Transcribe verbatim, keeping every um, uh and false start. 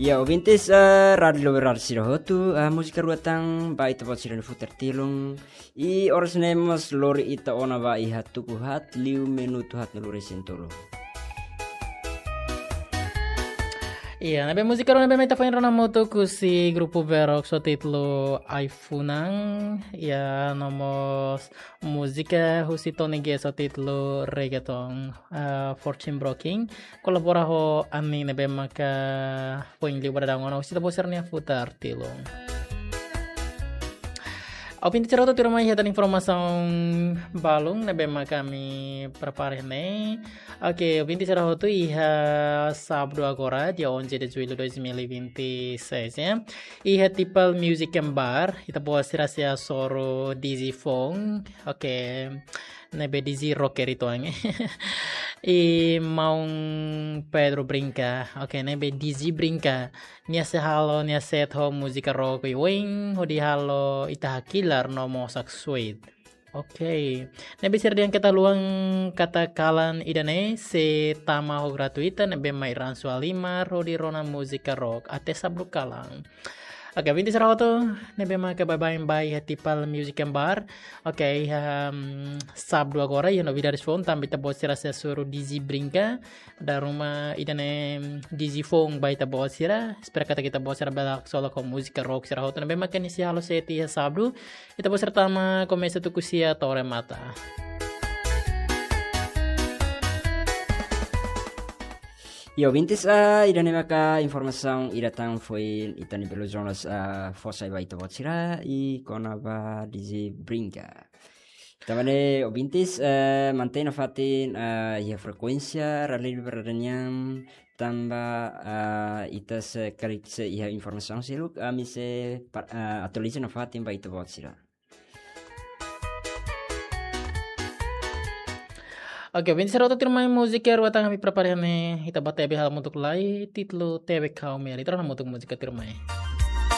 Ya, ouvintes, eh, Rádiu Luberar sira hotu, eh, múzika rua tan ba ita-boot sira-nia futar tilun. I oras ne'e mós lori ita ona ba iha tuku haat liu minutu haatnulu resin tolu. Iya, ne'ebé múzika rua ne'ebé mak ita foin rona hamutuk husi grupu Berok ho títulu Ai-funan. Iya, no mós múzika husi Tony Guest ho títulu Reggaeton, eh, Fortune Broken. Kolabora ho Ani ne'ebé maka foin liu ba daudaun ona husi ita-boot sira-nia futar tilun. Ouvinte sira hotu, tuirmai hetan informasaun balun ne'ebé maka ami prepara ne'e. Oke, ouvinte sira hotu, iha sábadu agora, dia onze de julho dois mil e vinte e seis, ya. Iha Tipal Music and Bar, ita-boot sira sei hasoru D J Fong. Oke. Ne'ebé D J rocker uitoan. I maun Pedro Brinca. Oke, ne'ebé D J Brinca. Nia sei halo nia set ho múzika rock oioin, hodi halo ita hakilar no mós haksoit. Oke. Ne'ebé sira dehan keta haluha katak kalan ida-ne'e sei tama ho gratuita, ne'ebé mai ransu halimar hodi rona múzika rock até sábadu kalan. Oke, ouvinte sira hotu, ne'ebé maka baibain ba iha Tipal Music and Bar. Oke, iha, mm, sábadu agora, iha novidades foun, tanba ita-boot sira sei hasoru D J Brinca. Dala ruma ida-ne'e, mm, D J foun ba ita-boot sira. Espera katak ita-boot sira bele haksolok ho múzika rock sira hotu. Ne'ebé maka nia sei halo set iha sábadu. Ita-boot sira tama komesa tuku sia to'o remata. Ya, ouvintes, ah, ida-ne'e maka informasaun ida tan foin ita-nia Belo Jonas, ah, fó sai ba ita-boot sira i kona-ba D J Brinca. Tanba ne'e, ouvintes, eh, mantein nafatin, ah, iha frekuénsia Rádiu Luberar nian, tanba, ah, ita se karik sei iha informasaun seluk, ami sei pa-, ah, atualiza nafatin ba ita-boot sira. Oke, ouvinte sira hotu, tuirmai múzika rua tan ami prepara ne'e, ita bá tebe halo hamutuk lai, títulu Tebe Kau Meri. Ita rona hamutuk múzika tuirmai.